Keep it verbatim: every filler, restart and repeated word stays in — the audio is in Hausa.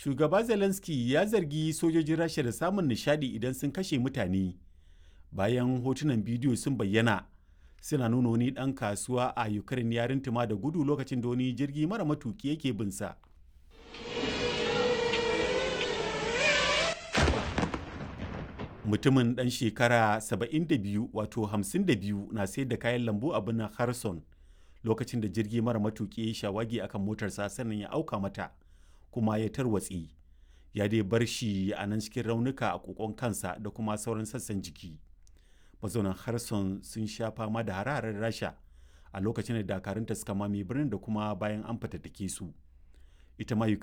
Shugaba Zelensky ya zargi sojojin Rasha da samun nishadi idan sun kashe mutane bayan hotunan bidiyo sun bayyana suna nuna wani ɗan kasuwa a Ukraine ya rintuma da gudu lokacin da wani jirgi mara matuki yake binsa. Mutumin ɗan shekara saba'in da biyu wato hamsin da biyu na sayar da kayan lambu a birnin Kherson lokacin da jirgi mara matuki ya shawagi akan motarsa sannan ya auka mata kuma ya tarwatse. Ya dai bar shi a nan cikin raunuka a kokon kansa da kuma sauran sassan jiki. Mazaunan Kherson sun sha fama da hare-haren Rasha a lokacin da dakarunta suka mame birnin da kuma bayan an fatattake su. Ita ma Ukraine